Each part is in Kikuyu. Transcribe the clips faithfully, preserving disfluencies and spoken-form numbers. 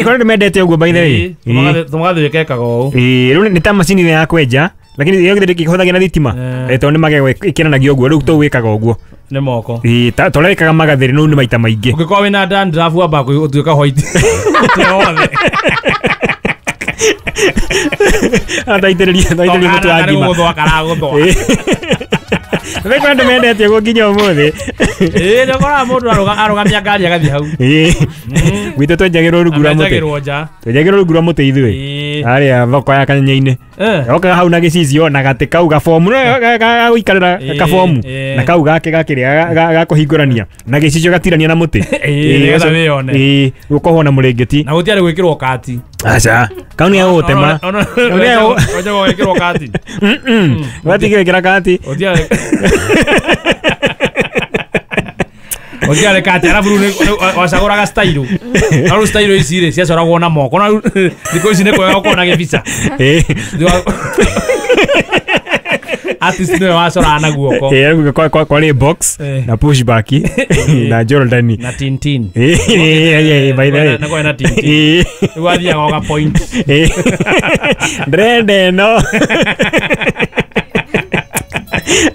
Ĩkorwo nĩ mendete ũguo by the way. Tũmagathĩ wĩkekaga ũũ. Ĩĩ, rĩu nĩ ta macini ya kwenja, lakini ĩyo githĩ ndĩkĩhũthagĩra thitima. Eh. Tondũ nĩ magego ĩkĩranagio ũguo, rĩu tũu wĩkaga ũguo. Nĩ moko. Ĩĩ, ta ũrĩa wĩkaga magathĩrĩ no nĩ maita maingĩ. Ũngĩkorwo wĩna dandruff wambaga gũtuĩka white. Mũtwe wothe. Ataitĩrĩria ataitĩrĩria mũtu wa ngima. Gũthũa karagũthũa. Nĩ kwenda andũ mendete ũguo nginya ũmũthĩ. Ĩĩ, nĩ ũkoraga mũndũ arũgamia ngari agathiĩ hau. Ĩĩ. Gwitũ twenjagĩrwo rungu rwa mũtĩ. Amenjagĩrwo nja. Twenjagĩrwo rungu rwa mũtĩ ithuĩ. Ĩĩ. Harĩa thoko ya Kanyenya-inĩ. Eh. Okaga hau na gĩcicio na gatĩ kau gabomu ga gũikarĩra Ĩĩ, kabomu ĩĩ. na kau gake gakĩrĩa ga kũhingũrania na gĩcicio gatirania na mũtĩ. Ĩĩ, nĩgetha wĩyone. Ĩĩ, ũkohwo na mũrĩngĩti. Na gũtiarĩ gwĩkĩrwo kati. Aca, kau nĩ gagũtema. Kau nĩ gagũ- Wenjagwo gwĩkĩrwo kati. Mm-mm. Watigĩkĩra kati. Gũtiarĩ Gũtiarĩ kati, arabu rĩu nĩ- wacagũraga style. Na rĩu style ici rĩ ciacoragwo na moko. Na rĩu thikũ ici nĩ kwega gũkorwo na gĩbica. Ĩĩ. Artist nĩwe wacoraga na guoko. Ĩĩ, rĩu kwa- kwa- kwarĩ box Eh. na pushback na Jordan. Na Tintin. Ĩĩ, ĩĩ, ĩĩ, by the way. Na kwarĩ na Tintin. Ĩĩ. Rĩu wathiaga ũga point. Ĩĩ. Ndĩrenda ĩno.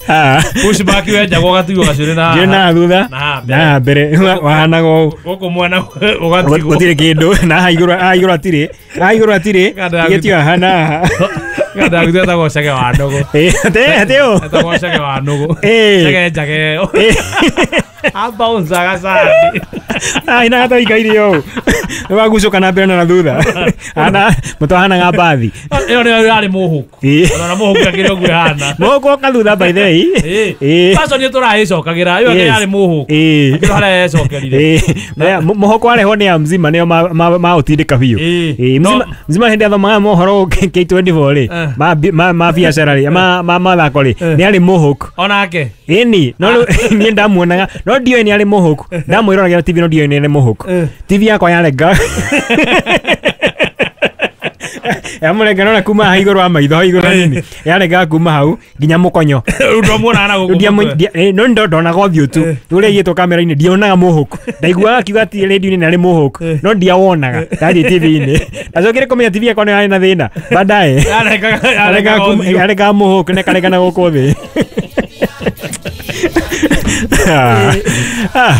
Ah. Pushback wenjagwo ũgatigwo gacuĩrĩ na Njuĩrĩ na thutha na haha mbere. na haha mbere wahanaga ũũ. Gũkũ mwena ũgatigwo. Gũtirĩ kĩndũ na haha igũrũ haha igũrũ hatirĩ haha igũrũ hatirĩ Kanda ya tigĩtio haha na haha. Kanda yaku etagwo cege wa nũgũ. Ĩĩ, atĩ atĩ ũũ. Etagwo cege wa nũgũ. Ĩĩ. Cege njage ĩyo. Ĩĩ. Abouncaga candi. Ai na hata ikaire ũũ. Nĩ wagucũka na mbere na na thutha. Hana mũtwe wahanaga mbathi. Ĩyo nĩyo yarĩ mũhũku. Ĩĩ. Ona mũhũku akĩrĩ ũguo ĩhana. Mũhũku oka thutha by the way. Ĩĩ. Ĩĩ. Fashion nĩ tũraĩcokagĩra. Ĩyo Yes. yarĩ mũhũku. Ĩĩ. Akĩrĩ harĩa yecokerire. Ĩĩ. Mũhũku warehwo nĩ ya mzima nĩo maũtindĩka biũ. Ĩĩ. Ĩĩ, No- mzima mzima hĩndĩ athomaga mohoro K twenty-four rĩ Eh. ma ma ma biacara rĩ ma ma mathako rĩ Eh. nĩ arĩ mũhũku. Onake. Ĩni, no rĩu niĩ ndamuonaga no ndioĩ nĩ arĩ mũhũku. Ndamwĩroragĩra T V no ndioĩ nĩ arĩ mũhũku. Eh. T V yakwa yarenga. Yamũrenga nona kuma haha igũrũ wa maitho hau igũrũ hanini. Yarengaga kuma hau nginya mũkonyo. Rĩu ndwamuonaga na gũkũ Ndia mũtwe. ndia- eh, no ndo ndonaga ũthiũ tu. Eh. Ũrĩa aigĩtwo kamera-inĩ ndionaga mũhũku. Ndaiguaga akiuga atĩ radio-inĩ nĩ arĩ mũhũku Eh. no ndiawonaga. Ndathiĩ T V-inĩ. Ndacokire kũmenya T V yakwa nĩ yarĩ na thĩna. Baadaye. Yarengaga Yarengaga yarengaga kuma- ũthiũ. yarengaga mũhũku na ĩkarenga na gũkũ thĩ. Ah. Ah.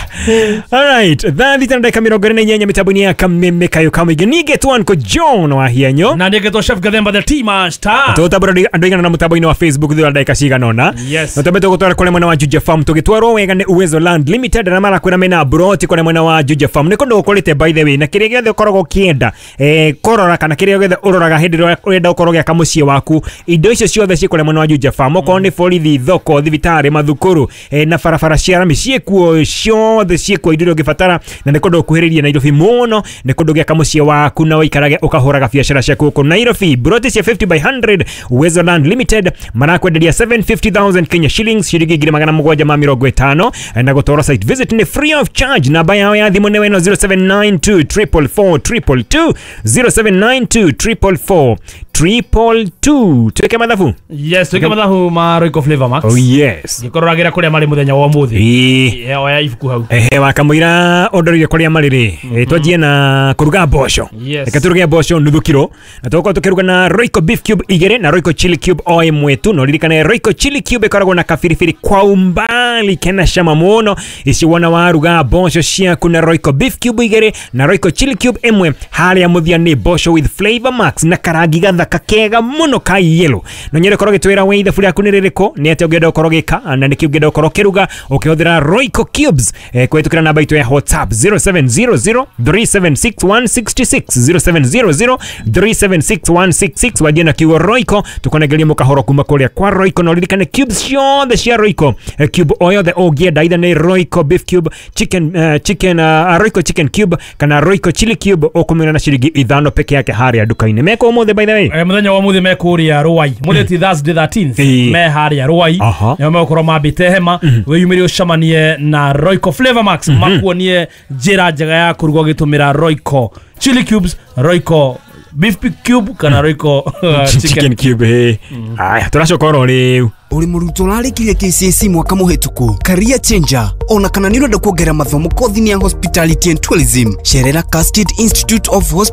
All right, thaa thita na ndagĩka mĩrongo ĩrĩ na inyanya mĩtambo-inĩ ya Kameme Kayo Kamũingĩ. Niĩ ngetwo John wa Hianyo. Na niĩ ngetwo Chef Gathemba the Tea Master. Tũgũtambũra andũ aigana na mũtambo-inĩ wa Facebook thutha wa ndagĩka cigana ũna. Yes. Na twambe tũgũtwara kũrĩa mwena wa Juja Farm tũgĩtwarwo wega nĩ Uwezo Land Limited na marakwĩra mena broti kũrĩa mwena wa Juja Farm. Nĩ kũndũ gũkũrĩte by the way na kĩrĩa gĩothe ũkoragwo ũkĩenda eh, kũrora kana kĩrĩa gĩothe ũroraga hĩndĩ ĩrĩa ũrenda ũkorwo ũgĩaka mũciĩ waku indo icio ciothe ciĩ kũrĩa mwena wa Juja Farm. Okorwo nĩ borithi, thoko, thibitarĩ, mathukuru eh, na barabara cia rami ciĩkuo ciothe ciĩkuo indo iria ũngĩbatara na nĩ kũndũ gũkuhĩrĩirie Nairobi mũno nĩ kũndũ gĩaka mũciĩ waku na ũikarage ũkahũraga biacara ciaku gũkũ Nairobi. Broti cia fifty by hundred Uwezo Land Limited marakwenderia seven fifty thousand Kenya shillings ciringi ngiri magana mũgwanja ma mĩrongo ĩtano na gũtwarwo site visit nĩ free of charge. Namba yao ya thimũ nĩ ĩno zero seven nine two triple four triple two zero seven nine two triple four triple two. Tuweke mathabu. Yes, tuweke mathabu ma Royco Flavor Max. Oh yes. Ngĩkororagĩra kũrĩa marĩ mũthenya wa ũmũthĩ. Ĩĩ. Eh, oya ibuku hau. Ehe, wakamũira ũndorire kũrĩa marĩ rĩ. Eh, twanjie na kũruga mboco. Yes. Reke tũruge mboco nuthu kiro. Na tũgũkorwo tũkĩruga na Royco Beef Cube igĩrĩ na Royco Chili Cube o ĩmwe tu. Na ũririkane Royco Chili Cube ĩkoragwo na kabiribiri kwa umbali kena cama mũno. Ici wona waruga mboco ciaku na Royco Beef Cube igĩrĩ na Royco Chili Cube ĩmwe harĩa mũthia nĩ mboco with Flavor Max na karangi gathaka kega mũno ka yellow. Na nyende ũkorwo ũgĩtwĩra we ithabu rĩaku nĩ rĩrĩkũ, nĩ atĩa ũngĩenda ũkorwo ũgĩka na nĩkĩ ũngĩenda ũkorwo ũkĩruga ũkĩhũthĩra Royco Cubes eh, kũhĩtũkĩra namba itũ ya WhatsApp zero seven zero zero three seven six one six six zero seven zero zero three seven six one six six wanjie na kiugo Royco tũkũnengeria mũkahoro kuma kũrĩa kwa Royco. Na ũririkane cubes ciothe cia Royco eh, cube o yothe ũngĩenda either nĩ Royco Beef Cube chicken, uh, chicken uh, Royco Chicken Cube kana Royco Chili Cube ũkũmĩona na ciringi ithano peke yake harĩa nduka-inĩ. Meko ũmũthĩ by the way. Eh, mũthenya wa ũmũthĩ me kũrĩa Ruai. Mũthĩ ti Thursday thirteenth Ĩĩ. me harĩa Ruai. Aha. Nĩo megũkorwo mambĩte hema wĩyumĩrie ũcemanie na Royco Flavor Max makuonie njĩra njega ya kũruga ũgĩtũmĩra Royco Chili Cubes, Royco Beef cube kana Royco uh, chicken chicken. Cube eh. Aya, tũracoka oro rĩu. Uri mũrutwo ũrarĩkirie K C S E mwaka mũhĩtũku, career changer, ona kana nĩ ũrenda kuongerera mathomo kothi-inĩ ya hospitality and tourism, cerera Cascade Institute of Hospitality.